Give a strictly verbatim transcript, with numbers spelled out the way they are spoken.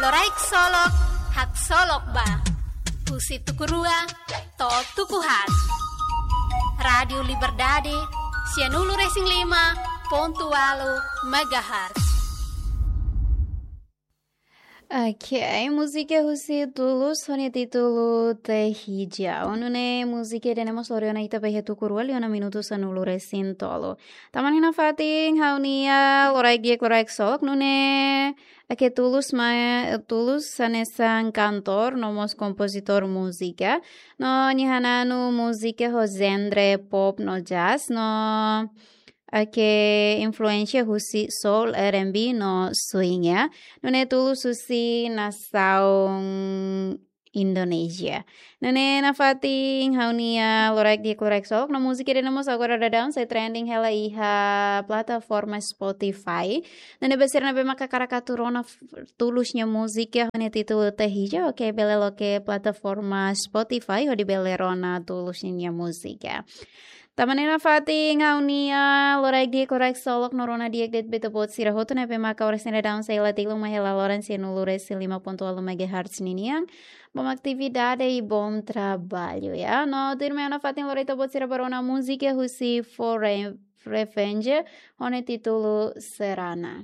Loraik Solok, haksolok ba. Husi tuku rua to'o tuku haat. Rádiu Liberdade, sianulu-resin-lima pontu ualu megahertz. Ok, múzika husi Tulus ho nia títulu Teh Hijau. Nune'e múzika ida-ne'e mós lori ona ita ba iha tuku rua liu ona minutu sanulu-resin-tolu. Tanba ne'e nafatin ha'u-nia loraik di'ak, loraik solok, nune'e ake Tulus mai, Tulus hanesan kantór no mós kompozitór múzika. No nia hananu múzika ho genre pop no jazz, no ake influénsia husi soul, R and B no swing, ya. Nune'e Tulus husi nasaun Indonézia. Nune'e nafatin ha'u-nia loraik di'ak, loraik solok, no múzika ida-ne'e mós agora daudaun sei trending hela iha plataforma Spotify. Nune'e ba sira ne'ebé maka hakarak atu rona f-, Tulus nia múzika ho nia títulu Teh Hijau, ok, bele loke plataforma Spotify hodi bele rona Tulus nia múzika. Tanba ne'e nafatin ha'u-nia loraik di'ak, loraik solok no rona di'ak de'it ba ita-boot sira hotu ne'ebé maka oras ne'e daudaun sei la tilun mai hela loron sianulu-resin-lima pontu ualu megahertz ninian. Bom atividade e bom trabalho, ya. No tuirmai ha'u nafatin lori ita-boot sira ba rona múzika husi Foreign Revenge ho nia títulu Serana.